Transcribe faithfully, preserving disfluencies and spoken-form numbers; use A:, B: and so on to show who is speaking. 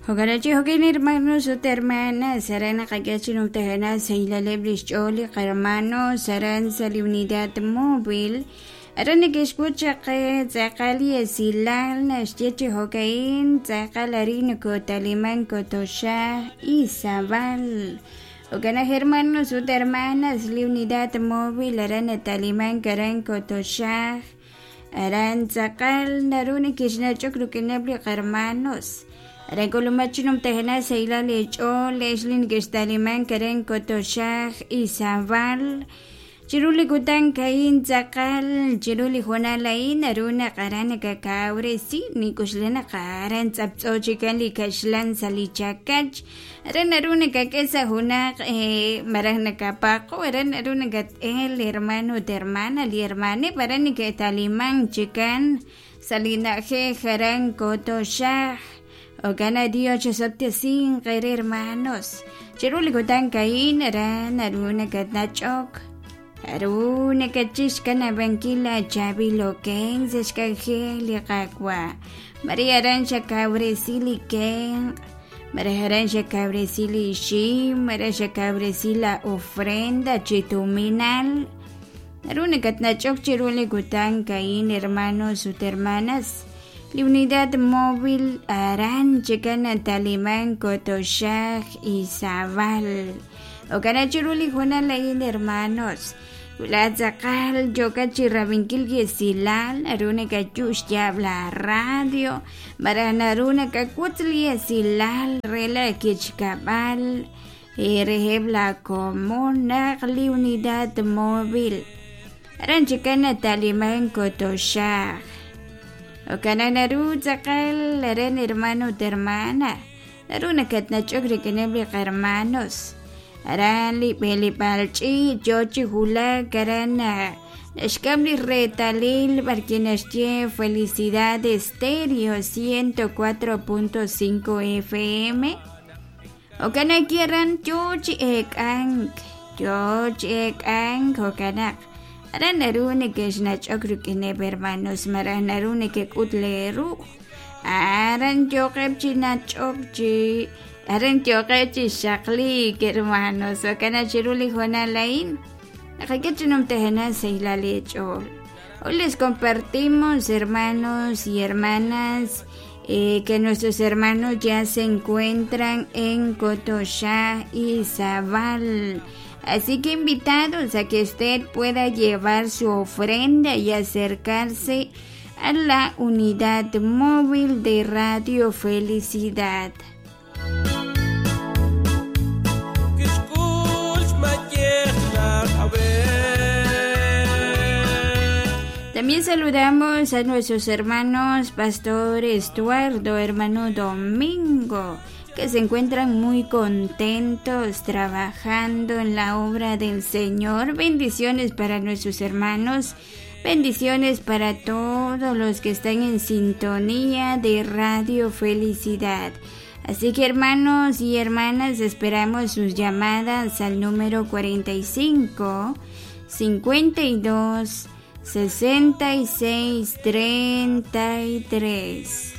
A: Jo'kan jo'kin hermanos ut hermanas aran naqak'e chi numtajenaq sahilaleb' lix ch'ool li qarmanos aran sa' li unidad móvil aran neke'xk'ut chaq tz'aqal li esilal naxye chi jo'ka'in tz'aqal arin nokotaliman Kotoxaj Izabal. Jo'kan hermanos ut hermanas li unidad móvil aran nataliman aran Kotoxaj aran tz'aqal naru neke'xnach'ok rik'ineb' li qarmanos aran k'ulumaj chi numtajenaq sahilal eech'ool leex li neke'xtaliman aran Kotoxaj Izabal chiru li kutan ka'in tz'aqal chiru li hoonal a'in naru naq aran nakakawresi nik'uxla naq aran tz'aptz'o chikan li kaxlan sa' li chakach aran naru nakak'e sa' junaq maraj nakapaqo aran naru nakat'el hermano ut hermana li hermaneb' aran neke'taliman chikan sa' li na'ajej aran Kotoxaj. Jo'kan Dios chesob'tesinq ere hermanos chiru li kutan ka'in aran naru nakatnach'ok naru nakatchixkanabankil la chaab'il oken sa' xk'anjel li Qaawa' Maria aran xakawresi li kenq' maraj aran xakawresi li ixim maraj xakawresi la ofrenda chi tuminal naru nakatnach'ok chiru li kutan ka'in hermanos ut hermanas li unidad móvil aran chikan nataliman Kotoxaj Izabal. Jo'kan chiru li hoonal a'in hermanos wila tz'aqal yo'kat chi rabinkil li esilal naru nakayu' xyaab' la radio maraj naru nakak'ut li esilal re la kichkab'al reheb' la komon naq li unidad móvil aran chikan nataliman Kotoxaj. Jo'kan naru tz'aqal aran hermano ut hermana naru nakatnach'ok rik'ineb' li qarmanos aran li b'eleb'aal ch'iich' yoo chi wulak aran naxk'am li reetalil b'arki naxye Felicidad Estéreo ciento cuatro punto cinco F M. Jo'kan aki aran yoo chi eek'ank yoo chi eek'ank jo'kanaq aran naru neke'xnach'ok rik'ineb' hermanos maraj naru nekek'ut leeru aran yooqeb' chi nach'ok chi aran yooqeb' chi xaqliik hermanos jo'kan chiru li hoonal a'in naqak'e chi numtajenaq sahilal eech'ool. Hoy les compartimos, hermanos y hermanas, eh, que nuestros hermanos ya se encuentran en Kotoxaj Izabal. Así que invitados a que usted pueda llevar su ofrenda y acercarse a la unidad móvil de Radio Felicidad. También saludamos a nuestros hermanos Pastor Estuardo, hermano Domingo, que se encuentran muy contentos trabajando en la obra del Señor. Bendiciones para nuestros hermanos, bendiciones para todos los que están en sintonía de Radio Felicidad. Así que hermanos y hermanas, esperamos sus llamadas al número cuarenta y cinco, cincuenta y dos, sesenta y seis, treinta y tres.